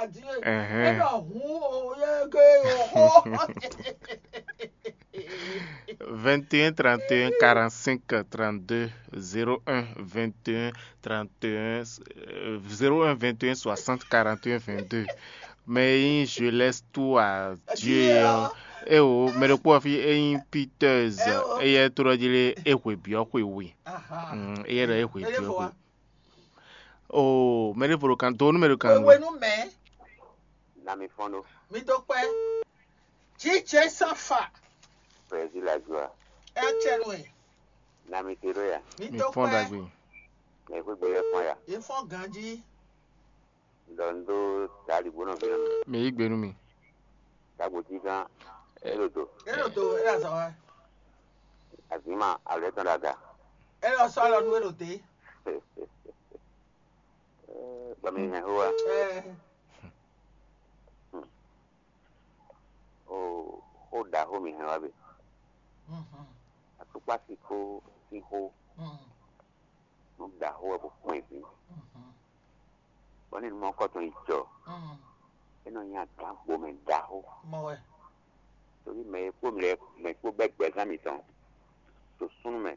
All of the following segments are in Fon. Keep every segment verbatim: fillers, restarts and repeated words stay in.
Ɛhɛn. Ɛnɔ hun o yɛ ke o xo. Vingt et un, trente et un, quarante-cinq, trente-deux, zéro un, vingt et un, trente et un, euh, zéro un, vingt et un, soixante, quarante et un, vingt-deux. Mais je laisse tout à Dieu. Dieu. Eh oh, mais le pauvre fille est une piteuse. Eh oh. Et elle est trop dit, et oui, bien, oui, oui. Aha. Mm, et elle est oui, bien, oui. Oh, mɛ ɖěvo ɖo kan, donu mɛ ɖo kan. Wenu mɛ. Na mi fɔn ɖo. Mi dó kpɛ. Jíjɛ sán fa. Président la joie. Ɛ cɛ nú ɛ. Na mi te ɖo ya. Mi Mi dó fɔn kpɛ. Dagbe. Mɛ xwé gbɛ yɛ fɔn ya. Yé fɔn ganjí. Ɖɔ n ɖó dali bó nɔ fi nɔ. Mi yí gbe nú mi. Dagbo tí gán. Elo do. Elo do, ela zɔ wa. Azima alɛ tɔn ɖaga. Ela sɔ alɔ nú elo dé. Bami hɛn ho wa. Ɛ. O o da ho mi hɛn wa be. Mhm. Atukpa si ko si ho. Mhm. Nǔ ɖaxó wɛ bó kpɔ́n ɛ ví. Mhm. Bɔ ní nǔ mɔkɔtɔn yi jɔ, Mm. É nɔ nyí agǎn gbomɛ ɖaxó. Mɔ wɛ. Torí mɛ e kpó mɛ mɛ e kpó bɛ́ gbɛzán mǐtɔn to súnnu mɛ,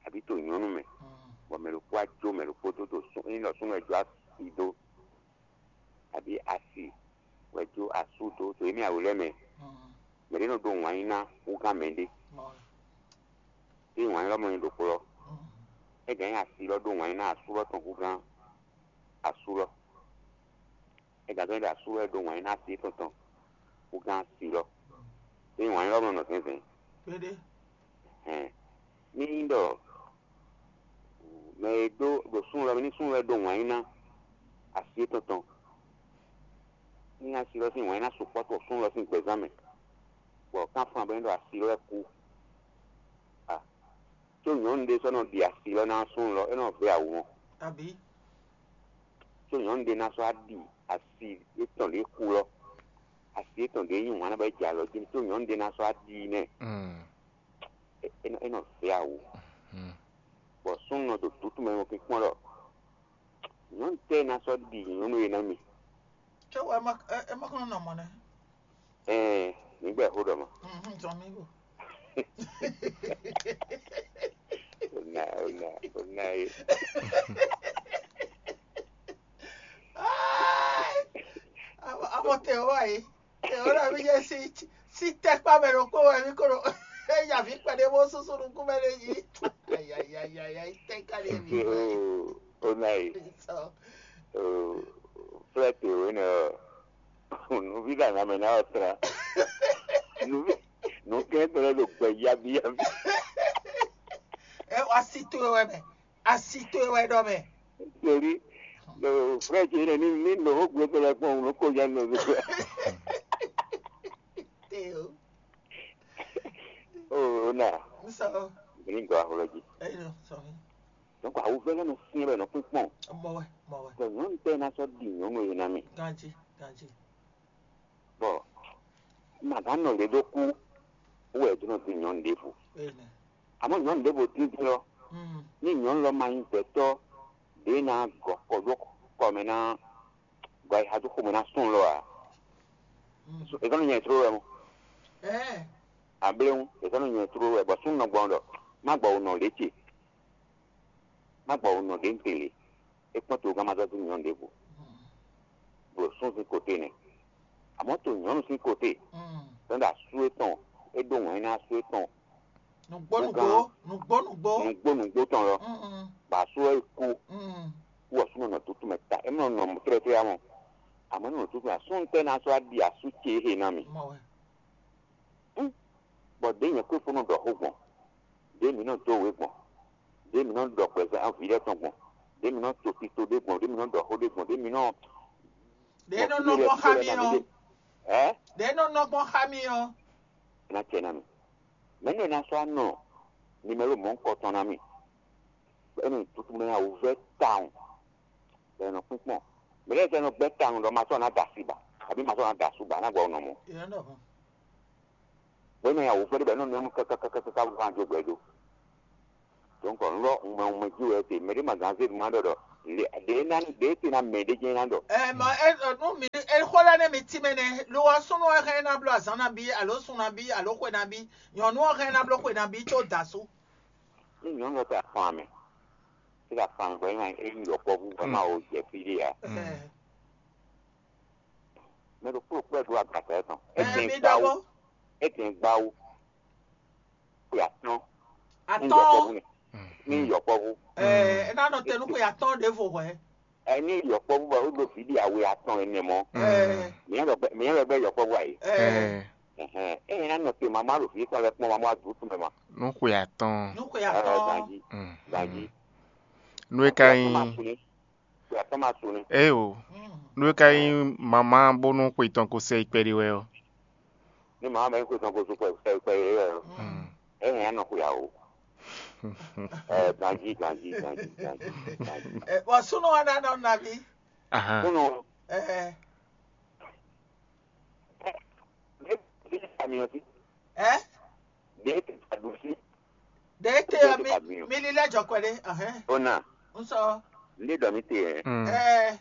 abǐ to nyɔ̌nu mɛ, Mm. Bɔ mɛ ɖokpó wá jó mɛ ɖokpó dó to sún ényí ɖɔ súnnu wɛ jó asi dó, abǐ asi wɛ jó asú dó to émí awu lɛ́ɛ mɛ. Mm. Mɛ ɖé nɔ ɖó wǎn yí ná húgán mɛɖé. Mɔ wɛ. Ényí wǎn ylɔ́ mɔ nyí ɖokpó ɔ́, Mm. É gǎn nyi asi lɔ ɖó wǎn yí ná asú lɔ tɔn húgán asú lɔ. É gǎn zɔ́n ɖɔ asú lɔ e ɖó wǎn yí ná asi étɔn tɔn húgán asi lɔ. Ényí wǎn ylɔ́ mɔ nɔ zɛ̌nzɛ̌n. Kpéɖé. Hɛn. Ní nyí ɖɔ mɛ e ɖó ɖo súnnu lɔ mɛ ní súnnu lɔ e ɖó wǎn yí ná asi étɔn tɔn. Ní asi lɔ sín wǎn yí ná sukpɔ́ to súnnu lɔ sín gbɛzán mɛ, bɔ kánfan bɔ é ɖo asi lɔ wɛ kú. A, có nyɔ̌nu ɖé sɔ́ nɔ ɖi asi lɔ ná súnnu lɔ, é nɔ vɛ́ awu mɔ. Abǐ. Có nyɔ̌nu ɖé ná sɔ́ wá ɖi asi étɔn ɖě kú lɔ, asi étɔn ɖě nyí wǎn ná bɔ é jɛ alɔ jí, có nyɔ̌nu ɖé ná sɔ́ wá ɖi i nɛ́. Mm. É é nɔ é nɔ vɛ́ awu. Mm. Bɔ súnnu nɔ ɖo dǔtú mɛ nɔ kpɔ́n ɖɔ nyɔ̌nu tɛ́ ná sɔ́ ɖi nyɔ̌nu e ná mi. Cé wɛ é ma é é ma kɔn nɔ mɔ nɛ́. Ɛɛ, nígbà xó ɖɔ mɔ. Mhm, zɔn mi go. Ona ona ona ye. Amɔ amɔ tɛ o wa ye. Tɛ o la mi jɛ si si tɛkpa mɛ ɖo kpó wɛ mi ko ɖo. Eya vi kpɛɖe bó susu nukún mɛ ɖe yi. Ayayayayayi tɛ ka ɖe mi. Ona ye. Sɔ. Flɛt wěnɛ ɔ́, nǔví ɖo ahan mɛ ná ɔ́ tlán. Nǔví nǔkɛntɔ́ lɛ́ɛ ɖo gbɛ yábíyábí. Ɛ asi towe wɛ mɛ, asi towe wɛ ɖɔ mɛ. Torí ɖo flɛt wěnɛ ní ní nɔ ó gbé tɔ́ lɛ́ɛ kpɔ́n nǔ kó nya nɔ zó. Te o. O o na. N sɔ. Bìnní gɔ́ axɔlɔ jí. Ɛ yɔ sɔ mi. Donc awuvɛ́ lɛ́ɛ nɔ syɛ́n wɛ nɔ kpínkpɔ́n. Mɔ wɛ, mɔ wɛ. Bɔ nyɔ̌nu tɛ́ ná sɔ́ ɖi nyɔ̌nu e ná mì. Ganjí, ganjí. Bɔ ma gǎn nɔ lě ɖó kú wú wɛ è dó nɔ din nyɔ̌nu ɖěvo. Énɛ́. Àmọ́ nyɔ̌nu ɖěvo díndín ɔ́, Mm. Ní nyɔ̌nu lɔ ma nyí gbɛtɔ́ ɖě ná gɔ kɔ ɖó kɔ mɛ ná gɔ ayixa dó xomɛ ná sún lɔ ǎ. Mm. È zɔ́n nɔ nya ɛ tló wɛ mɔ. Ɛɛ. Abléhun, è zɔ́n nɔ nya ɛ tló wɛ bɔ súnnu nɔ gbɔn ɖɔ má gbɔ wǔ nɔ lě ce. Má gbɔ wǔ nɔ ɖě ntɛ́nlé. É kpɔ́n togán ma zɔ́ dó nyɔ̌nu ɖěvo. Ɖo sún sín koté nɛ́. Àmọ́ to nyɔ̌nu sín koté, Mm. Tɔn ɖo asú étɔn, é ɖó wǎn ná asú étɔn. Nǔgbó nǔgbó, nǔgbó nǔgbó. Nǔgbó nǔgbó tɔn lɔ. Mm, mm. Bɔ asú ɔ́ yi kú. Mm. Wú ɔ́ súnnu nɔ tútú mɛ ta. É nɔ nɔ tlɛ́tlɛ́ mɔ. Àmọ́ é nɔ tútú mɛ. Asú ntɛ́ ná sɔ́ wá ɖi asú ce é he ná mì. Mɔ wɛ. Hǔn, bɔ ɖěe nyɛ Klísu nɔ ɖɔ xó gbɔn, ɖěe mǐ nɔ dó wě gbɔn, ɖěe mǐ nɔ ɖɔ gbɛzán vǐ lɛ́ɛ tɔn gbɔn, ɖěe mǐ nɔ to tito ɖé gbɔn, ɖěe mǐ nɔ ɖɔ xó ɖé gbɔn, ɖěe mǐ nɔ Ɖě nɔ nɔ gbɔn xá mì ɔ́. Ɛ? Ɖě nɔ nɔ gbɔn xá mì ɔ́. Ná cɛ ná mì. Mɛ̌ nɔ ná sɔ́ nɔ nimɛlo mɔ̌hunkɔtɔn ná mì? Bɔ é nɔ tutu mɛ awu vɛ́ tawun. Bɔ è nɔ kpínkpɔ́n. Mɛ lɛ́ɛ sɛ́ nɔ gbɛ́ tawun ɖɔ ma sɔ́ ná da asi ba, abǐ ma sɔ́ ná da asú ba, ná gbɔ nɔ mɔ̌. Yě nɔ ɖɔ hɔn. Bɔ é nɔ nyi awu vɛ́ ɖé bɔ é nɔ nɔ nú kákákákáká bó ná jó gbɛ dó. Donc un lɔ un mɛ un mɛ jí wɛ te mɛ ɖé ma gán zé ma ɖɔ ɖɔ ɖě ná ɖě te ná mɛ ɖé jɛ́n ná ɖɔ. Ɛ mɔ ɛ nú mi ɛ Énɛ́ mi tínmɛ nɛ́, lo ɔ́, súnnu ɔ́ hɛn ná bló azǎn nabí, alǒ sun nabí, alǒ xwe nabí, nyɔ̌nu ɔ́ hɛn ná bló xwe nabí có da asú. Ní nyɔ̌nu ɔ́ tɛ afan mɛ, é ɖo afan gbɔ, é nyí yɔkpɔ́vú, wɛ má wo jɛ fí ɖé ǎ. Mɛ ɖokpó ɖokpó wɛ ɖó agbata ɛ tɔn. É Ɛ, dɛn mi gbá ɖɔ wú, bó. É dɛn gbá wú. Xwe atɔ́n. Ní Atɔ́n. Yɔkpɔ́vú nɛ. Ní yɔkpɔ́vú. Ɛ, é ná nɔ te nú xwe atɔ́n ɖěvo hwɛ̌. Ɛ ní yɔkpɔ́vú bɔ é ɖo vǐ ɖi awe atɔn ɛnɛ mɔ. Ɛ, Mǐ lɛ́ bɛ mǐ lɛ́ bɛ yɔkpɔ́vú ayi. Ɛ, Ɛhɛn. Ényí ná nɔ te mamá ɖo vǐ tɔn lɛ́ɛ kpɔ́n mamá wá dǔ tún mɛ ma. Nú xwe atɔn. Nú xwe Ɛ, atɔ́n. Ganjí. Ganjí. Nú é ka Xwe atɔ́n ma nyí sun ní. Xwe atɔ́n ma sun ní. Éyo. Nú é ka nyí mamá bónú xwe tɔn ko sɛ yi kpɛɖé wɛ ɔ́. Ní mamá mɛ ní xwe tɔn ko sun kpɛ kpɛ kpɛ yě wɛ ɔ́. Ényí ná nɔ xwe awo. Ɛ, ganjí, ganjí, ganjí, ganjí, ganjí. Ɛ, bɔ súnnu ɔ́ ná nɔ nabí. Ahan. Kúnnú. Ɛ, Ɖě tɛ amyɔ sí. Ɛ, Ɖě tɛ aɖu sí. Ɖě tɛ Ɖě ɔ tɛ mi amyɔ. Mi lílɛ́ jɔ kɔ ɖé. Ahɛn. Ona. N sɔ. Ndé ɖɔ mi te yɛ. Ɛ,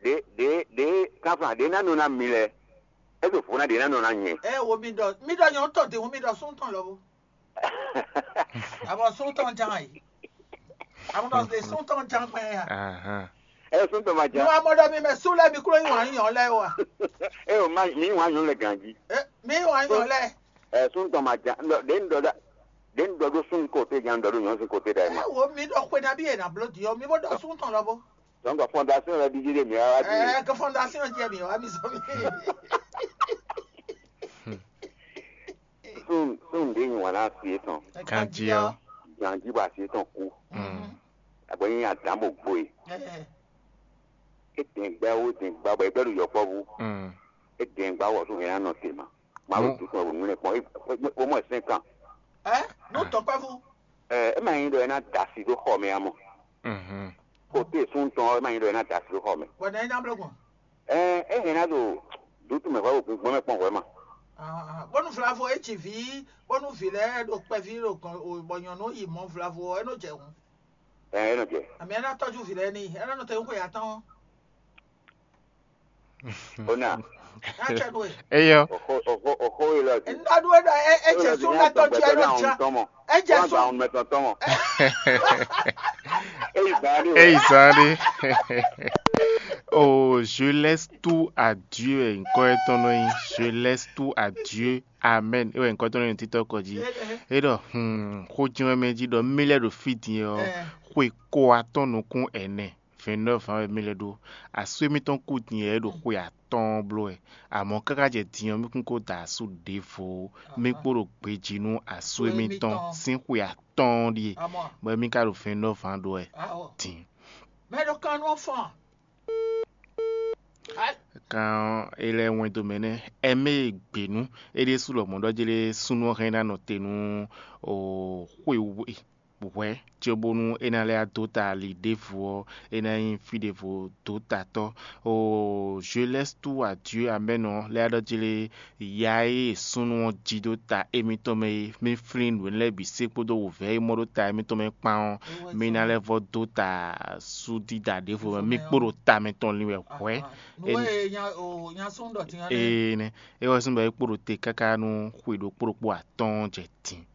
Ɖě ɖě ɖě kanfan ɖě ná nɔ ná mi lɛ. É ɖo vo ná ɖě ná nɔ ná nyɛ. Ɛ wo mi ɖɔ mi ɖɔ nyɔ̌nu tɔn dǐn mi ɖɔ sún tɔn lɔbó. Abɔ sún tɔn jan yi. Abɔ ɖɔ de sún tɔn jan gbɛ ya. Ahan. Ɛ sún tɔn ma Ní jan. Wàá mɔ ɖɔ mi mɛ sú lɛ mi kúrò yín wǎn yín ɔ́ lɛ wa. Ɛ o ma mi wǎn nyɔ̌nu lɛ ganjí. Ɛ, mi wǎn yín ɔ́ lɛ. Ɛ sún tɔn ma jan. Ɖě ń ɖɔ ɖa. Ɖě ń ɖɔ ɖó sún kóté jan ɖɔ ɖó nyɔ̌nu sín kóté ɖa ɛ ma. Ɛ wo mi ɖɔ xwe nabí yě ná bló dǐ ɔ́, mi bó ɖɔ sún tɔn lɔbó. Donc fondation lɛ ɖiɖi ɖe mǐ wá wá dí. Ɛ ke fondation jɛ mi wá mi zɔ mi. Sun sun ɖě nyi wǎn ná asi étɔn. Ganjí ɔ́. Ganjí bɔ asi étɔn kú. Abɔ nyi adǎn bɔ gbo e. Ɛ, É dɛn gbá wó dɛn gbá bɔ é gbɛ́ ɖo yɔkpɔ́vú. É dɛn gbá wɔ sún hɛn ná nɔ te ma. Mawu Nú- dúkú wɔ nú lɛ kpɔn. Ó mɔ sɛn kan. Ɛ, nú tɔkpɛ́vú. Ɛ é ma nyí ɖɔ é ná da asi ɖó xɔ mɛ amɔ. Kote sun tɔn é ma nyí ɖɔ é ná da asi ɖó xɔ mɛ. Bɔ nɛ é ná bló gbɔn. Ɛ é hɛn ná ɖo dútú mɛ hwɛ ɖo gbɔn mɛ kpɔn hwɛ ma. Ah, bónú vlavo é ci vǐ, bónú vǐ lɛ́ɛ ɖo kpɛví ɖo gɔn o, bɔ nyɔ̌nu yi mɔ vlavo ɔ́, é nɔ jɛ hǔn. Ɛ é nɔ jɛ. Àmì é ná tɔ́jú vǐ lɛ́ɛ n'i, é ná nɔ tɛ́ xwe atɔ́ɔ́n. Ona. Ná cɛ ɖu e. Eyɔ. Oxo oxo oxo yi lɔ di. Ná ɖu e ɖɔ é é jɛ sún ná tɔjú ɛ lɔ jà. É jɛ sún. Àwọn mɛtɔn tɔn mɔ. Eyi zan ɖe. Eyi zan ɖe. Oh, je laisse tout à Dieu, ɛ, ŋkɔ etɔn nɔ nyi. Je laisse tout à Dieu. Amen. Ewɛ ŋkɔ tɔn nɔ nyi titɔ kɔ jí. E ɖɔ, hmm, xó jɛn wɛ mɛ jí ɖɔ mí lɛ ɖo fí din ɔ́, xwe ko atɔn nukún ɛnɛ. Vingt-neuf ans wɛ mí lɛ ɖó. Asú émítɔn kú din ɛ ɖo xwe atɔ́ɔ́n bló wɛ. Amɔ̌ káká jɛ din ɔ́, mí kún ko da asú ɖěvo ó. Mí kpo ɖo gbejí nú asú émítɔn sín xwe atɔ́ɔ́n ɖíe, bɔ émí ka ɖo vingt-neuf ans ɖó wɛ din. Mɛ ɖo kan nú ɔ́ fɔ́n. Kan é lɛ́ wɛn dó mɛ nɛ́, ɛmɛ e gbě nú é ɖésú lɔmɔ̌ ɖɔ jlé súnnu ɔ́ hɛn ná nɔ te nú xwe we hwɛ̌, cóbónú é ná lɛ́ dó ta ali ɖěvo ɔ́, é ná nyí fí ɖěvo dǒtatɔ́. Oo, je laisse tout à Dieu, amɛ́nɔ lɛ́ ɖɔ jlé ya e súnnu ɔ́ jí dó ta émítɔn mɛ é, mí flín nǔ énɛ́ lɛ́ɛ bǐ se kpódó wǒvɛ́ e mɔ ɖó ta émítɔn mɛ kpán ɔ́, mí ná lɛ́ vɔ́ dó ta súdída ɖěvo mɛ, mí kpo ɖo ta mɛtɔn lin wɛ hwɛ̌. Nǔ e nya o nya sún ɖɔ din ɔ́ nɛ́. Ee nɛ́, é wɛ sín bɔ é kpo ɖo te káká nú xwe ɖokpó ɖokpó atɔ́ɔ́n jɛ din.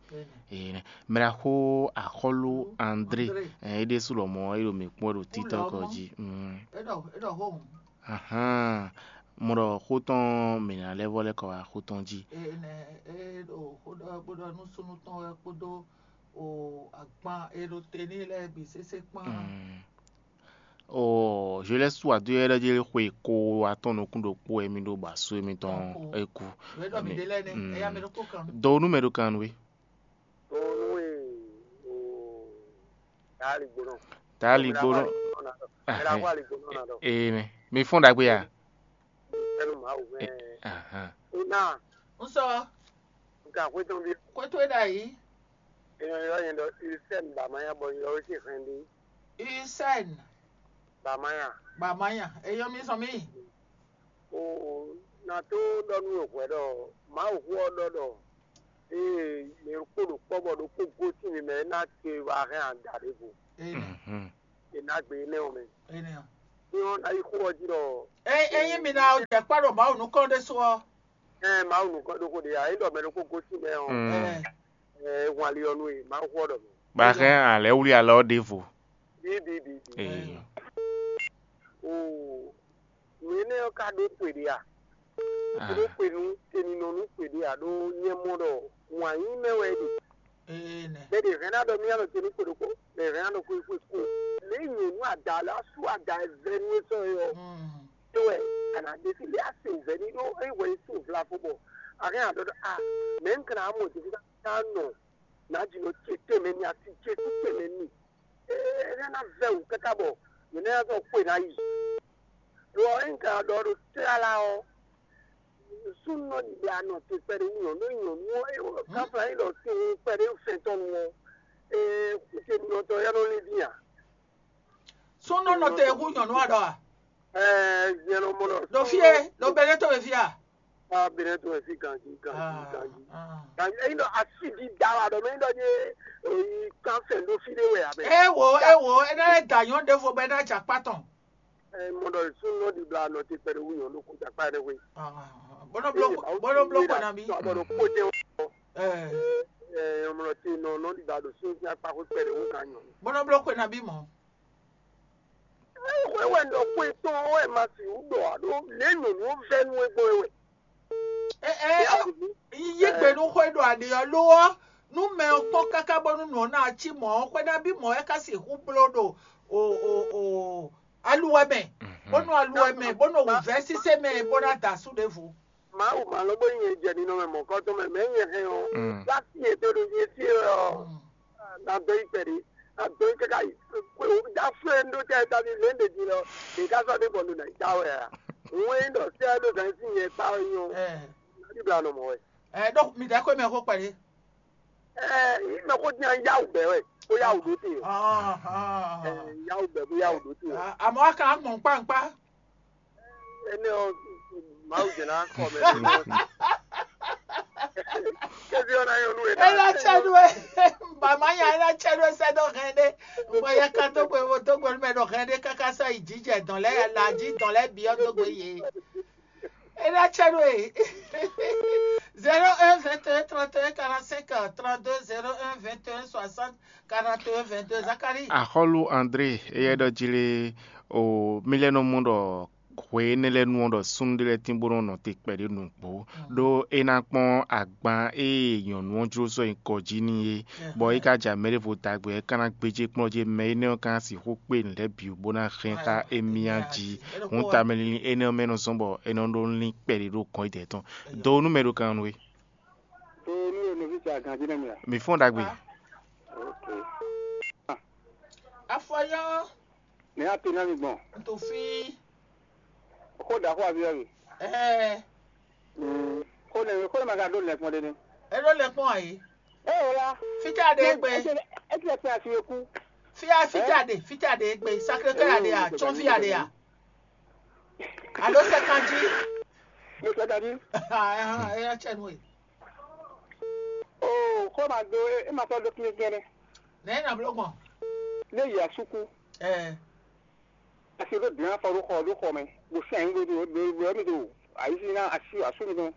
Ee nɛ́, mɛ ɖaxó axɔ́lú André, ɛ, é ɖésú lɔmɔ̌ é ɖo mǐ kpɔ́n ɖo títɔ́ kɔ jí. Mm. É ɖɔ é ɖɔ xó hǔn. Ahán, mo ɖɔ xó tɔn mǐ ná lɛ́ vɔ lɛ́ kɔ wá xó tɔn jí. Ee nɛ́, é ɖo xó ɖɔ bó ɖɔ nú súnnu tɔn wɛ kpódó o agban e ɖo te n'i lɛ́ɛ bǐ sésé kpán. Mm. Oo, je laisse tout à Dieu, é ɖɔ jí xwe ko atɔn nukún ɖokpó wɛ mí ɖó bɔ asú émítɔn é kú. Wě ɖɔ mǐ ɖe lɛ́ɛ nɛ́, ẹ̀yà mɛ ɖokpó kan. Dɔwonu mɛ ɖo kan nú we. Dɔwonu e o taali gbónɔ. Taali gbónɔ. Mɛ ɖaxó ali gbónɔ na ɖɔ. Ee nɛ. Mi fɔn ɖagbe ya. Ɛnu Mawu mɛ. Ahan. Una. N sɔ. Nka xwetɔn bi. Xwetɔn e ɖ'ayǐ. Èèyàn yɔ yẹn ɖɔ Ursène Bamaya bɔ yɔ wé sí hɛn ɖi. Ursène. Bamaya. Bamaya. Eyɔ mi sɔ mi. O na tó ɖɔ nú wò hwɛ ɖɔ Mawu xó ɔ́ ɖɔ ɖɔ ee mɛ ɖokpó ɖo kpɔ́ bɔ ɖokpó gosín mǐ mɛ é ná te wá hɛn ada ɖěvo. Ee nɛ. Mhm. È nǎ gbe énɛ́ ɔ́ mɛ. Ee nɛ. Ní ɔ́ ná yi xó ɔ́ jí ɖɔ Ényí mi ná jɛ kpá ɖo Mawu nukɔn ɖésú ɔ́, ɛ Mawu nukɔn ɖokpó ɖe ǎ, é ɖɔ mɛ ɖokpó gosín mɛ ɔ́, Mm. ɛ, ɛ hwan ali ɔ́ nú e Mawu xó ɔ́ ɖɔ mɛ. Ba hɛn alɛ wlí alɔ ɖěvo. Bíbíbíbí. Ee. Oo, nǔ énɛ́ ɔ́ ka ɖó xwe ɖé a? Ah. Ɖó xwe nú teninɔ nú xwe ɖé a? Ɖó nyɛ mɔ ɖɔ wǎn yí mɛ wɛ é ɖe. ee nɛ. Mɛ ɖě hɛn ná ɖɔ mí anɔ te nú xwe ɖokpó, mɛ hɛn ná ɖɔ xwe xwe xwe. Lě nyɔ̌nu ada lɔ asú ada vɛ́ nú é sɔ́ é ɔ́, Mm. é wɛ a nǎ ɖe sí lé asi wǔvɛ́ ní ɖó é wɛ é sín vla fó bɔ a hɛn a ɖɔ ɖɔ a mɛ̌ un ka ná mɔ ɖě ká nɔ nǎ jǐ nɔ ce tɛnmɛ ní asi ce sí tɛnmɛ ní. Énɛ́ ná vɛ́ wǔ káká bɔ yě ná zɔ xwe ná yi. Lo ɔ́, ényí ka ɖɔ ɖo tlala ɔ́, súnnu nɔ ɖiɖa nɔ te kpɛɖé wú nyɔ̌nu nyɔ̌nu ɔ́, é wɔ káfla nyí ɖɔ sin wú kpɛɖé fɛntɔ́nu ɔ́, é xwite nɔ tɔn yá nɔ lin dín ǎ. Súnnu nɔ te hu nyɔ̌nu aɖɔ a? Ɛɛ, nyɛ nɔ mɔ ɖɔ. Ɖo fie, ɖo bɛnɛ to e fia. Ah, bɛnɛ to e fi ganji ganji ganji. Ah, Ganji, eyi nɔ asi di da wa ɖɔ mɛ nɔ nye oyi kan fɛn ɖo fi ɖe wɛ abɛ. Ewo, ewo, ena lɛ da nyɔ̌nu ɖe fo bɛ na dza kpa tɔn. Ɛɛ, mɔ ɖɔ súnnu nɔ ɖiɖa nɔ te kpɛɖé wú nyɔ̌nu kó dza kpa ɖe wɛ. Bɔnɔ blo, bɔnɔ blo kɔ na bi. Abɔ ɖo kpó tɛ wɔ. Eh, Ɛɛ, mɔ ɖɔ te nɔ nɔ ɖiɖa ɖo súnnu sín akpa xó kpɛɖé wú kan nyɔ̌nu. Bɔnɔ blo kɔ na bi mɔ. Wɛ wɛ ɖɔ xwe tɔn wɛ ma si wú ɖɔ aɖo lě nyɔ̌nu ɔ́ vɛ́ nú é gbɔn é wɛ. Eh, eh, yi gbe nu xwe ɖo aɖi ɔ́ lo ɔ́, nu mɛ ɔ́ kpɔ́n káká bɔnú nǔ ɔ́ ná cí mɔ̌ ɔ́, xwe ná bí mɔ̌ é ká sixú bló ɖo o o o aluwɛ mɛ, bónú aluwɛ mɛ, bónú wǔvɛ́ sísé mɛ, bó ná da asú ɖěvo. Mawu ma lɔ bó nyɛ jɛ ninɔ mɛ mɔ̌kɔtɔn mɛ mɛ nyɛ hɛn ɔ́, Mm. wá sí yě tó ɖo yé sí ɔ́. Na dɔ yi kpɛɖé, na dɔ yi káká yi. Kwe o da fún ɛ ɖó tɛ ta ni lě ɖe jí lɔ, ɖe ká sɔ ɖé bɔ ɖo na yi ta wɛ a. Òun é ɖɔ sɛ ɖo zan sí yẹn kpa ɔ nyɔ. Eh, Ní bla nɔ mɔ wɛ. eh, donc mi dɛ ko mɛ ko kpɛɖé. Ɛ yí mɛ ko dín an yáwù bɛ wɛ, kó yáwù ɖó te. Ah, ah, Ɛ yáwù bɛ kó yáwù ɖó te. Ah, àmọ́ a kàn á gbọ̀n kpáǹkpá. Ẹni ɔ, màá jẹ náà kọ mẹ. Kébí ọ̀nà yóò nú ẹ̀ Ela tsɛ ɖo e bama nya ela tsɛ ɖo e sɛ ɖo hɛn ɖe. Bɔ ya ka dó gbe wo dó gbe mɛ ɖo hɛn ɖe kaka sɔ yi jijɛ dɔn lɛ la ji dɔn lɛ biɔ dó gbe ye. Ela tsɛ ɖo e. Zéro un vingt et un trente et un quarante-cinq trente-deux, zéro un vingt et un soixante quarante et un vingt-deux. Zakari. Axɔ́lú André, éyɛ́ ɖɔ jí lé o mí lɛ́ nɔ mɔ ɖɔ hwe énɛ́ lɛ́ɛ nu ɔ́ ɖɔ súnnu ɖé lɛ́ɛ tín bó nɔ́ nɔ te kpɛɖé nǔgbó, ɖó é ná kpɔ́n agban e nyɔ̌nu ɔ́ jló sɔ́ nyi kɔ jí n'i é, bɔ é ka ja mɛ ɖěvo dagbe ɔ́, é ka ná gbéjé kplɔ́n jí mɛ énɛ́ ɔ́ ka ná sixú kpé nǔ lɛ́ɛ bǐ bó ná hɛn xá émí jí. Hǔn tamɛ linlin énɛ́ ɔ́ mɛ nɔ zɔ́n bɔ é nɔ ɖó lín kpɛɖé ɖo gɔ̌n idɛɛ tɔn. Do nú mɛ ɖo kan nú we. To nú e nɔví ce aganjí nɛ mi a? Mǐ fɔ́n ɖagbe. Ok. Afɔyɔ Ní a te ná mi gbɔn. ntofi. Xó ɖaxó aví ɔ́ mi. Ɛɛ, Xó nɛ xó nɛ ma ka ɖó lɛkpɔn ɖé ní. Eɖo lɛ kpɔn ayi. Ɛ o la. Fita ɖe gbe. Eti lɛ kpe asi e kú. Fia fita ɖe fita ɖe gbe. Sacré-Cœur ɖe a tsɔn fia ɖe a. Alo sɛ kanji. Mo sɛ dadi. Ɛyà tsɛ nu e. O xó ma do e ma sɔ do kí gɛnɛ. Nɛ na blo gbɔn. Ne yi asuku. Ɛɛ. Asi ɖo dun afɔ ɖo xɔ ɖo xɔ mɛ. Bo sɛn ɖo ɖo ɖo ɖo mi do. Ayi si na asi asu mi do.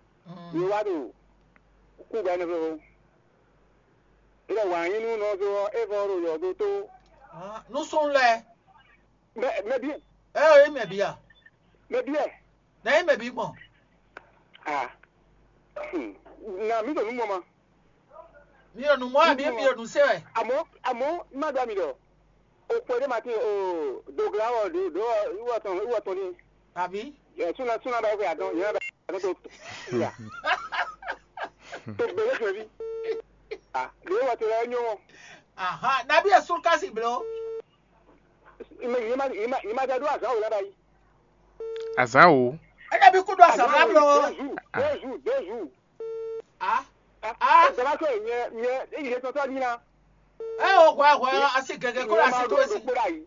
Mi wa do. Ku ba ne fo. Ila wa yin nu nɔ do e fɔ ɖo yɔ do to. Nusɔn lɛ. Mɛ mɛ bi. Ɛ o ye mɛ bi a. Mɛ bi ɛ. Na ye mɛ bi gbɔn. Ah. Hmm. Na mi do nu mɔ ma. Mi ò nu mɔ àbí mi ò nu se wɛ. Àmọ́ àmọ́ má dá mi lọ. O pè dé ma ti o dògla wọ do do ìwọ tán ìwọ tán ni. Àbí. Ẹ súná súná báyìí pé àdán ìyá bá àdán tó tó. Ìyá. Tó gbélé fún ẹbí. Ah, lè wọ tó lọ nyó wọn. Aha, nàbí ẹ̀sùn kásì blo. Ìmọ̀ ìyẹn má ìyẹn má ìyẹn má dá dúró àzán wò lára yìí. Azán o. Ẹ dàbí kúndùn àsàmúlá blo. Deux jours, deux jours, deux jours. Ah. Ah, ìjọba tó ìyẹn ìyẹn ìyẹn tó tọ́ ní na. Ẹ ò hwà hwà a sì gẹ̀gẹ̀ kó la sí tó sí. Kpéra yìí.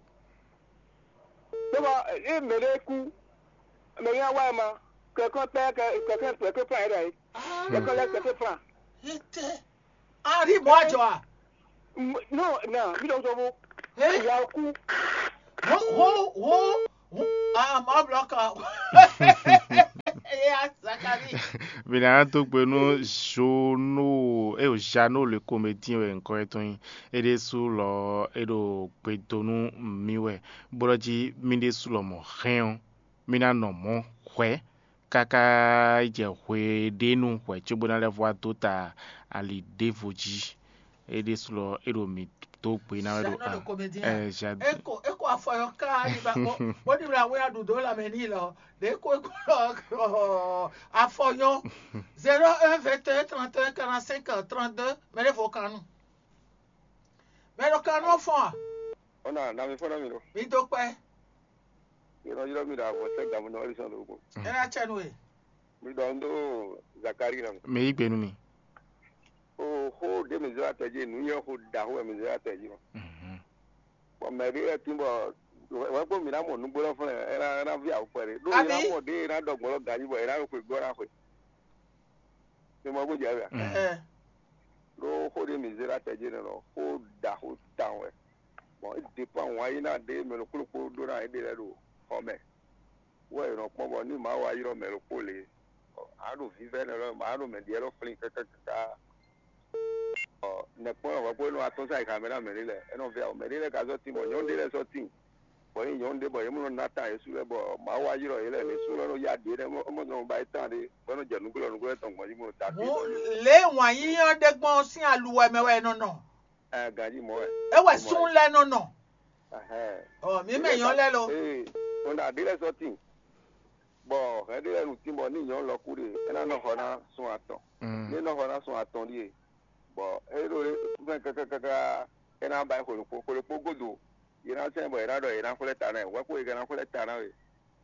Tó bá ẹ mẹ̀lẹ́ kú, mẹ̀lẹ́ wá ẹ ma, kẹ̀kọ́ pẹ́ kẹ̀kẹ́ pẹ́ kó fún ẹ rẹ̀. Kẹ̀kọ́ lẹ kẹ̀kẹ́ fún ẹ. Ètè. A rí mọ́ àjọ à. No, na, mi dɔn sɔfo. Ẹ Ìyá kú. Who who who Ah, mɔ blɔkɔ. Eya Zakari. Mi ná dó gbe nú Jono, eo Jano le comédien wɛ ŋkɔ etɔn nyí. É ɖésú lɔ é ɖo gbe dó nú mi wɛ, bó ɖɔ jí mi ɖésú lɔ mɔ hɛn ɔ́, mi ná nɔ mɔ̌ hwɛ̌ káká yi jɛ hwe ɖé nu hwɛ̌ cóbó ná lɛ́ vɔ wá dó ta ali ɖěvo jí. É ɖésú lɔ é ɖo mǐ dó gbe ná wɛ ɖo Jano le comédien. ɛ, Jado. Eko eko afɔyɔ ká ni ba bɔ bɔ ni wla wɛ aɖu dó la mɛ ni lɔ ɖe ko eko afɔyɔ zéro un vingt et un trente et un quarante cinq trente deux mɛ ɖe vo kanu mɛ ɖo kanu fɔn a Ona na mi fɔna mi ɖo. Mi do kpɛ Yɔrɔ yɔrɔ mi ɖo avɔ sɛ gamu na wali sɔn ɖo ko. Ena tsɛ nu e Mi ɖɔ n ɖo Zakari na mi. Mɛ yí gbe nú mi. O xó ɖe mi zɔ atɛ jí nu yɛ xó da xó mi zɔ atɛ jí. Bɔn mɛ ɖe lɛ tin bɔ wɛ kpɔ mi na mɔ nugbo lɔ fún ɛ ɛ na vi awu kpɛ ɖe. Ɖo Abi? Ina mɔ ɖe ina ɖɔ gbɔn lɔ gaji bɔ ina ɖo xwe gbɔ na xwe. Mi mɔ gbɔdzi awia. Ɛ Ɖo xó ɖe mi zɔ atɛ jí nɛ lɔ xó da xó tan wɛ. Bɔn e dépend wan yi na ɖe mɛ ɖokpó ɖokpó ɖó na eɖe lɛ ɖo xɔ mɛ. Wɛ è nɔ kpɔ́n bɔ ní Mawu wá ylɔ́ mɛ ɖokpó lě, a ɖo vívɛ́ nɛ lɔ a ɖo mɛ ɖiɛ lɔ flín káká káká. Nɛkpɔ́n wɛ kpó nɔ atɔ́ sa yi xamɛ ná mɛ ɖé lɛ, é nɔ vɛ awo mɛ ɖé lɛ ka zɔ́ tín bɔ nyɔ̌nu ɖé lɛ zɔ́ tín, bɔ nyí nyɔ̌nu ɖé bɔ yě mɔ nɔ ná tán yě sú lɛ bɔ Mawu wá ylɔ́ yě lɛ lě sú lɔ nɔ yá ɖě nɛ mɔ nɔ ba yi tán ɖé bɔ é nɔ jɛ nǔglɔ́ nǔglɔ́ tɔn gbɔn jí mɔ ta Mú lě wǎn yíyán ɖé gbɔn sín aluwɛ mɛ wɛ è nɔ nɔ. Ɛ ganjí mɔ wɛ. É wɛ sún lɛ nɔ nɔ. Ɛhɛn. Ɔ mí mɛ nyɔ́ lɛ lo. Ee, ɔnà ɖé lɛ sɔ́ tín. Bɔ hɛn ɖé lɛ nu tín bɔ ní nyɔ̌nu lɔ kú ɖe, é ná nɔ xɔ ná sun atɔn. Ní é nɔ xɔ ná sun atɔn ɖíe, bɔ é ɖo fɛn kákákáká é ná ba xwe ɖokpó, xwe ɖokpó gúdo, yě ná sɛn bɔ yě ná ɖɔ yě ná xwlɛ́ ta ná ɛ, hwɛ̌ xwe yě ká ná xwlɛ́ ta ná we.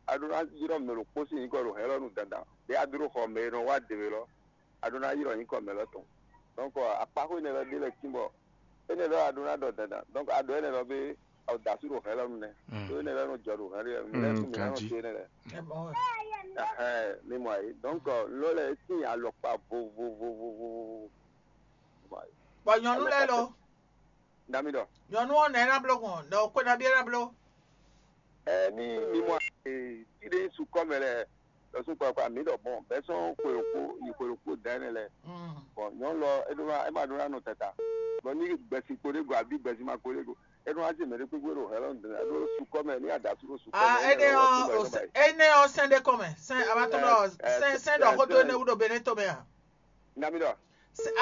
A ɖó ná ylɔ́ mɛ ɖokpó sín nyǐkɔ ɖo hɛ̌n lɔ nu dandan, ɖě a dó ɖo xɔ mɛ e nɔ wá dě we lɔ, a ɖó ná ylɔ́ nyǐkɔ mɛ lɔ tɔn. Donc akpáxwé nɛ́ lɔ ɖé lɛ́ɛ tín bɔ énɛ́ lɔ a ɖó ná ɖɔ dandan. Donc a ɖɔ énɛ́ lɔ bé a ɖo da asú ɖo hɛ̌n lɔ nu nɛ́. Ɖó énɛ́ lɔ nɔ jɔ ɖo hɛ̌n lɔ nu nɛ́ fún mi ná nɔ ganjí. Sé énɛ́ lɛ́ɛ. Ɛ mɔ wɛ. Ɛhɛn, mi mɔ ayǐ. Donc lɔ lɛ tín alɔkpa vovovovovovo. Bɔ nyɔnu lɛ lo. Nda mi ɖɔ. Nyɔnu ɔ́ nɛ ná bló gbɔn, nɔ xwe nabí ná bló. Ɛ ní mi mɔ ayǐ tí ɖé sukɔ mɛ lɛ lɔsùn kpakpa mi ɖɔ bɔn bɛ́ sɔn xwe ɖokpó yi xwe ɖokpó da énɛ́ lɛ. Bɔn nyɔnu lɔ é ɖó ná é ma ɖó ná nɔ tata. Bɔn ní gbɛ̀sín kpo ɖé go àbí gbɛ̀sín ma kpo ɖé go. É ɖó ná jɛ mɛ ɖé kpékpé ɖo hɛlɔ ɖó sukɔ mɛ ní adasú ɖó sukɔ Ah, mɛ. énɛ́ ɔ́ énɛ́ ɔ́ sɛn ɖé kɔn mɛ, sɛn abatɔ́ ɖɔ sɛn sɛn ɖɔ xódó énɛ́ wú ɖo Benin to mɛ a? Nda mi ɖɔ.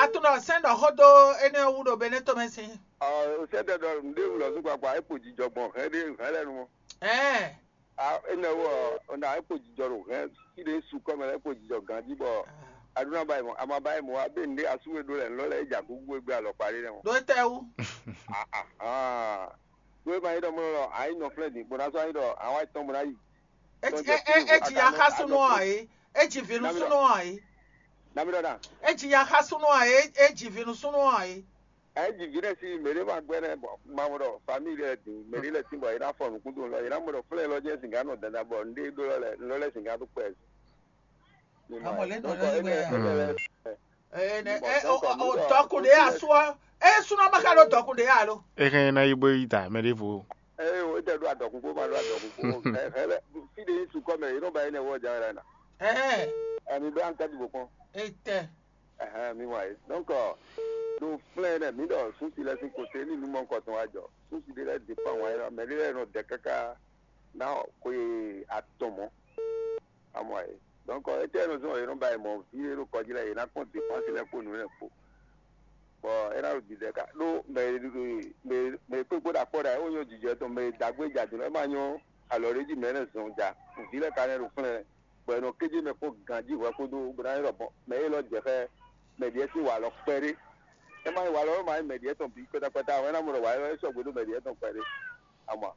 Atún ɖɔ sɛn ɖɔ xódó énɛ́ ɔ́ wú ɖo Benin to mɛ sín. Ɔ sɛ tɛ ɖɔ ŋɖé wulɔ sún kpakpa é kpo jijɔ gbɔn hɛn ɖé hɛn lɛ nu. Ɛɛ, A énɛ́ wɔ ɔnà é kpo jijɔ ɖo hɛn sí ɖé sukɔ mɛ lɛ é kpo jijɔ ganjí bɔ aɖúná ba yi mɔ ama ba yi mɔ wa bé ŋɖé asú e ɖó lɛ ŋlɔ lɛ é dza gúgú e gbé alɔkpa ɖé nɛ mɔ. Ɖó tɛ wú. Ahan. Ɖó é ma nyí ɖɔ mɔ lɔ a nyí nɔ flɛ́ din bó ná sɔ́ a nyí ɖɔ a wá tɔn bó ná yi. Etsi ya xá súnú ɔ́ ǎ é. Etsi vǐ nú súnú ɔ́ ǎ é. Nami ɖɔ na. Etsi ya xá súnú ɔ́ ǎ é. Etsi vǐ nú súnú ɔ́ ǎ é. Ɛ dzi vi ɖe si mɛ ɖé ma gbɛ nɛ bɔ ma mɔ ɖɔ famille lɛ din mɛ ɖé lɛ sin bɔ yɛ na fɔ nukun do lɔ yɛ na mɔ ɖɔ flɛ lɔ jɛ singa nɔ dada bɔ n ɖe ɖo lɔ lɛ lɔ lɛ singa ɖo kpɛ. Amɔ lɛ nɔ lɛ wɛ. Ɛnɛ Ɛ o o dɔkun ɖe asu ɔ. Ɛ sunɔ ma ka ɖo dɔkun ɖe alo. Ehe na yi bo yi da mɛ ɖevo. Eye o ete ɖo adɔkun ko ma ɖo adɔkun ko. Ɛhɛ lɛ fi ɖe yi sukɔ mɛ yi nɔ ba yi nɛ wɔ ja wɛ la na. Ɛhɛ. Ɛmi bɛ an tɛ dugo kɔn. Etɛ. Ɛhɛn, mi wa yi. Donc, ɖo flɛn nɛ mi ɖɔ sunsi lɛ sin kote ni numɔ kɔtɔn wa jɔ. Sunsi ɖe lɛ dépend wa yi la, mɛ ɖe lɛ nɔ dɛ kaka na xwe atɔn mɔ. Amɔ yi. Donc, ete nɔ zɔn yɛ nɔ ba yi mɔ vi ɖe ɖo kɔji lɛ yɛ na kpɔn dépense lɛ kpo nu lɛ kpo. Bɔ e na ɖo didɛ ka ɖo mɛ mɛ mɛ kpekpe ɖo akpɔ ɖa ewo nyɔ jijɛ tɔn mɛ dagbe jadun lɛ ma nyɔ alɔ ɖe ji mɛ ne zɔn ja vi lɛ ka nɛ ɖo flɛn bɔ e nɔ kéje mɛ kpɔn ganji hwɛ kpodo bó ná ylɔ bɔ mɛ e lɔ jɛ xɛ mɛ ɖiɛ sín walɔ kpɛɖé. E ma nyí walɔ ma nyí mɛ ɖiɛ tɔn bi kpɛtakpɛta wɛ na mɔ ɖɔ walɔ e sɔgbe ɖo mɛ ɖiɛ tɔn kpɛɖé. Ama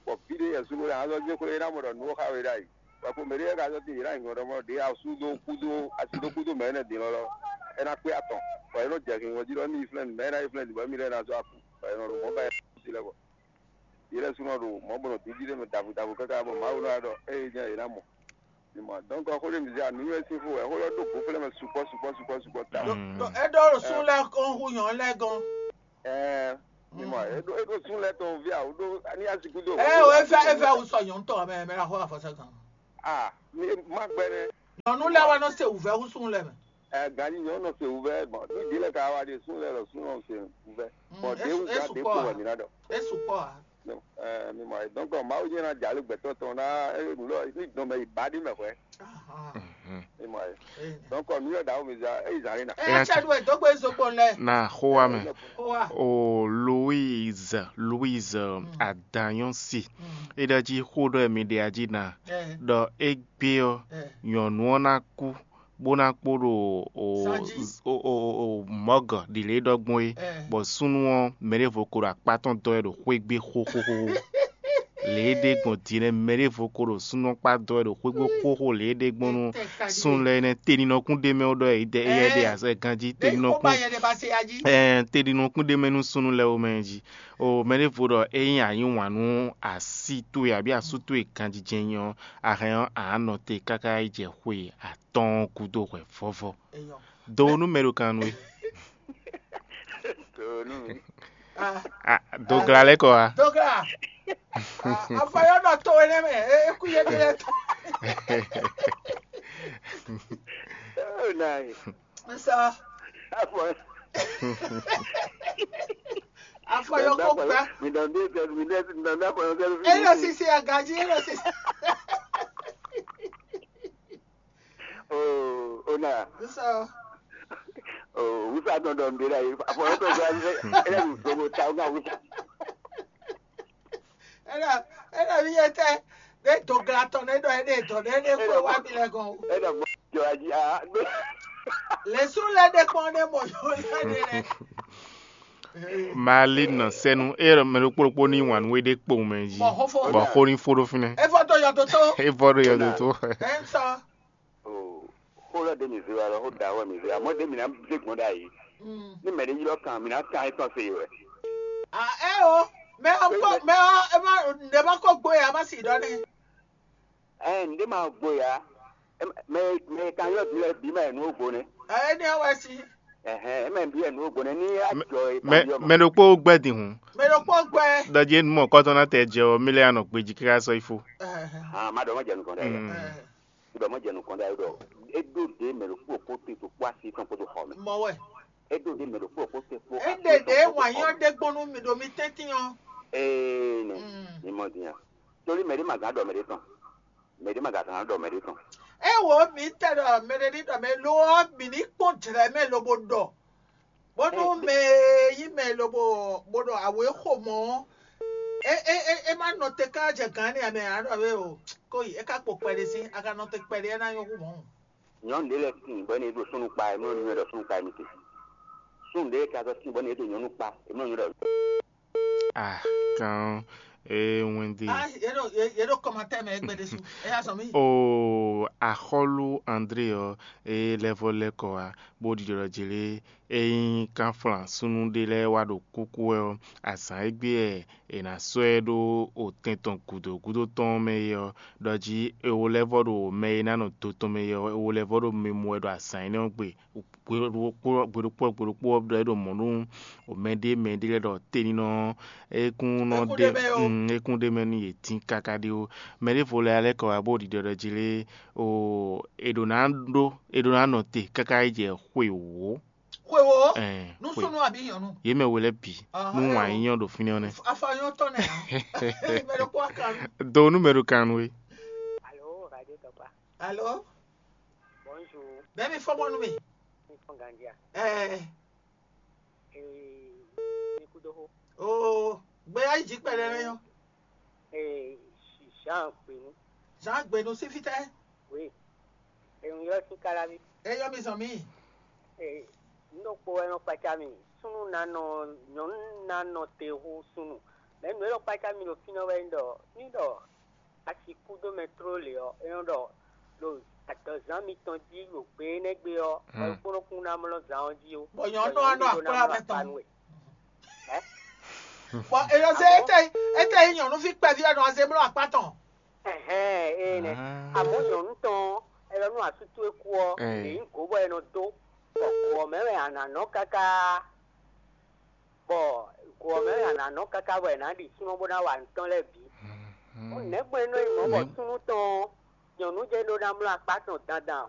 bɔ vi ɖe yɛ sugo ɖe azɔ dze xwle e na mɔ ɖɔ nuwo xa we ɖ'ayi. Bɔ ko mɛ ɖe ka zɔ ti yě na nyɔ ɖɔ mɔ ɖe asu do kudo asi do kudo mɛ ne din lɔ lɔ. E na kpé atɔn bɔ e nɔ jɛ hin wɔji ɖɔ mi flɛn mɛ na yi flɛn bɔ mi lɛ na zɔ aku bɔ e nɔ ɖo mɔ ba yɛ si lɛ bɔ. Yɛ lɛ sunɔ ɖo mɔ bɔ nɔ didi ɖe nɔ davu davu kaka bɔ Mawu nɔ ɖɔ eye nya yě na mɔ. Ni mɔ donc xó ɖe mi zia nu yɛ si fo wɛ xó lɔ ɖo go flɛ mɛ sukpɔ sukpɔ sukpɔ sukpɔ ta. Ɖo ɖo e ɖɔ ɖo sun lɛ kɔn hu nyɔ lɛ gɔn. Ɛɛ Mi mɔ, e ɖo e ɖo sun lɛ tɔn via, o ɖo ani asi kudo. Ɛ o, efa efa wusɔ nyɔnu tɔ mɛ mɛ la xɔ afɔsa kan. Ah, mi ma gbɛ nɛ. Nyɔnu lɛ wa nɔ se wuvɛ wusun lɛ mɛ. Ɛ gani nyɔnu nɔ se wuvɛ, bon, ni di lɛ ka wa de sun lɛ lɔ sun nɔ se wuvɛ. Bon, de wu ga de ko wɛ mi na dɔ. Esu kpɔ a. Mi mɔ, donc Mawu nyɛ na jali gbɛtɔ tɔn na e nu lɔ ni dɔn mɛ yi ba di mɛ hwɛ. Mi mɔ, donc mi yɔ da wo mi za e yi zan na. Ɛ ya cɛ do e dogbe zokpɔn lɛ. Na xó wa mɛ. Xó wa. O Louise, Louise Adanyɔsi. E ɖɔ jí xó ɖɔ mi ɖe ají na. Ɖɔ égbé ɔ́, nyɔ̌nu ɔ́ ná kú, bó ná kpo ɖo o, o, o, o, o mɔ̌gɔ ɖi lě ɖɔ gbɔn é, bɔ súnnu ɔ́, mɛ ɖěvo ko ɖo akpá tɔn dɔ́ wɛ ɖo xwé gbé xóxóxó. Lě e ɖe gbɔn din nɛ́, mɛ ɖěvo ko ɖo súnnu ɔ́ kpá dɔ́ wɛ ɖo xwé gbé xóxó lě e ɖe gbɔn nú súnnu lɛ́ɛ nɛ́. Teninɔkún ɖé mɛ wó ɖɔ é ɖe azɛ ganjí, teninɔkún, ɛɛ, teninɔkún ɖé mɛ nú súnnu lɛ́ɛ wó mɛ jí. O mɛ ɖěvo ɖɔ é nyí a yí wǎn nú así towe abǐ asú towe ganjijɛ nyí ɔ́, a hɛn ɔ́, a nɔ te káká yi jɛ xwe atɔ́ɔ́n gúdo hwɛ vɔ́vɔ́. Do nú mɛ ɖo kan nú we. Ah, dogla lɛ́ kɔ wá. Dogla. Ah, afɔyɔ nɔ to enɛ mɛ. E, e ku ye de lɛ to. Oh, nice. Sɔ. Afɔ. Afɔyɔ ko gbá. Mi dɔn bí sɛ mi dɛ mi dɔn bí afɔyɔ sɛ. E lɔ sisi agaji, e lɔ sisi. Oh, ona. Sɔ. Oh, wusa dɔn dɔn de la yi. Afɔyɔ sɛ sɛ sɛ. E lɛ mi dogo ta o ka wusa. Ena ena mi yɛ tɛ. Ne dogla tɔn ne ɖɔ ene dɔ ne ne ko wa mi lɛ gɔn. E na mɔ jɔ aji a. Lɛsu lɛ de kpɔn ne mɔ yɔ lɛ de lɛ. Mali nɔ sɛnu e mɛ ɖokpó ɖokpó ní wǎn nú we ɖe kpowun mɛ jí. Bɔ xó fó. Bɔ xó ní fó ɖó fínɛ́. Efɔ to yɔ toto. Efɔ ɖo yɔ toto. Ɛnsɔ. O xó lɔ ɖe mi zé wa lɔ xó da wɛ mi zé wa mɔ ɖe mi na zé gbɔn ɖe ayi. Ní mɛ ɖe ylɔ kan mi na kan etɔn se yi wɛ. A ɛ o, mɛ ɔ kɔ mɛ ɔ ɛ ma ɖe ma kɔ gbo ya ma si ɖɔ ne. Ɛ n ɖe ma gbo ya. Mɛ mɛ kan ylɔ bi lɛ bi ma yɛ nu o gbo ne. Ɛ ne wɛ si. Ɛhɛn, mɛ bi yɛ nu o gbo ne ni a jɔ e kan ylɔ ma. Mɛ ɖokpó gbɛ din hun. Mɛ ɖokpó gbɛ. Ɖɔji enu mɔ kɔtɔn na tɛ jɛ o mi lɛ anɔ gbeji kíkà sɔ ifo. Ɛhɛn. Ah, ma ɖɔ ma jɛ nukɔn ɖe. Ɖɔ mɔ jɛ nukɔn ɖe ayi ɖɔ e ɖo ɖe mɛ ɖo kpó kó te to kpó asi tɔn kpó to xɔ mɛ. Mɔ wɛ. E ɖo ɖe mɛ ɖo kpó kó te kpó. E ɖe ɖe wanyɔ ɖe gbɔnu mi ɖo mi tɛntin ɔ. Ee nɛ. Mi mɔ dinya. Torí mɛ ɖe ma gán ɖɔ mɛ ɖe tɔn. Mɛ ɖe ma gán ɖɔ mɛ ɖe tɔn. E wo mi tɛ ɖɔ mɛ ɖe ní ɖɔ mɛ lo ɔ mi ní kpɔn jlɛ mɛ lobo ɖɔ. Bónú mɛ e nyí mɛ lobo bó ɖo awě xo mɔ̌ ɔ́, é é é é má nɔ te ká jɛ gǎn n'i ǎ mɛ ǎ ɖɔ é o, kó yi é ká kpo kpɛɖé sín, a ka nɔ te kpɛɖé é ná nyɔ́ hú mɔ̌. Nyɔ̌nu ɖé lɛ́ɛ tíin bɔ é nɔ yi ɖo súnnu kpa, è nɔ nywɛ́ ɖɔ súnnu kpa émítě. Súnnu ɖé ka zɔ tíin bɔ é nɔ yi ɖo nyɔ̌nu kpa, è nɔ nywɛ́ ɖɔ. Ah, kan ɔ́, ee wɛn ɖe. Ah, yě ɖo yě yě ɖo kɔmatɛ́ mɛ égbé ɖésú. É yá zɔn mì. O axɔ́lú André ɔ́, é lɛ́ vɔ́ lɛ́ kɔ wá, bó ɖiɖɔ ɖɔ jě lé. Ényí kánflán súnnu ɖé lɛ́ɛ wá ɖo kúkú wɛ ɔ́, azǎn e gbé wɛ è nǎ sɔ́ ɛ ɖó otɛn tɔn gǔdo gúdo tɔn ɔ́ mɛ é ɔ́, ɖɔ jí è wo lɛ́ vɔ́ ɖo mɛ e ná nɔ do tɔn mɛ é ɔ́, è wo lɛ́ vɔ́ ɖo mi mɔ wɛ ɖo azǎn énɛ́ ɔ́ gbe. Gbe ɖokpó gbe ɖokpó gbe ɖokpó ɔ́ ɖɔ é ɖo mɔ̌ nú mɛɖé mɛɖé lɛ́ɛ ɖɔ teninɔ ɔ́, é kún nɔ ɖe é kún ɖe mɛ nú yě dín káká ɖé ó. Mɛ ɖěvo lɛ́ɛ lɛ́ kɔ wá bó ɖiɖɔ ɖɔ jí lé, o è ɖǒ ná ɖó è ɖǒ ná nɔ te káká yi jɛ xwe wǒ. Xwe wo. Ɛɛ, nú xwe. Súnnu abǐ nyɔ̌nu. Yě mɛ we lɛ́ɛ bǐ. Ahɔn, nú wǎn yí nyɔ́ ɖo fínɛ́ ɔ́ nɛ́. Afanyɔ́ tɔn nɛ. Mɛ ɖokpó akan. Do nú mɛ ɖo kan nú we. Alo, Radio Tɔkpa. Alo. Bonjour. Bɛ́ mi fɔ́n mɔ nú mi. Mi fɔ́n ganjí a? Ɛɛ. Ee, mi kú dó xó. Oo, gbéyà yí jí kpɛɖɛ lɛ yɔ. Ee, Jean Gbenu. Jean Gbenu sí fítɛ́. Oui. Ee, un ylɔ́ sín káláví. É yɔ mi zɔn mì. Ee, un ɖo kpo wɛ nɔ kpaca mi. Súnnu ná nɔ, nyɔ̌nu ná nɔ te hú súnnu. Mɛ nǔ e ɖo kpaca mi ɖo fínɛ́ wɛ nyí ɖɔ, ní ɖɔ a sixú dó mɛ tló lě ɔ́, é nɔ ɖɔ ɖo adɔzán mitɔn jí ɖo gbe énɛ́ gbe ɔ́, bɔ é kpónɔ kún ná mlɔ́ zan ɔ́ jí ó. Bɔ nyɔ̌nu ɔ́ nɔ akplá mɛ tɔn. Bɔ è nɔ zé étɛ étɛ nyí nyɔ̌nuví kpɛví ɔ́ nɔ zé mlɔ́ akpá tɔn. Ɛhɛn, ee nɛ. Amɔ̌ nyɔ̌nu tɔn ɔ́, è nɔ nú asú towe kú ɔ́, è nyǐ gǒ bɔ è nɔ dó, bɔ gǒ ɔ́ mɛ wɛ a nǎ nɔ káká. Bɔ Kɔ ɔ́ mɛ a nǎ nɔ káká bɔ è nǎ ɖi súnnu bó ná wa nǔ tɔn lɛ́ɛ bǐ. Nɛ̌gbɔn é nɔ nyí mɔ̌ bɔ súnnu tɔn ɔ́, nyɔ̌nu jɛ́n ɖó ná mlɔ́ akpá tɔn dandan?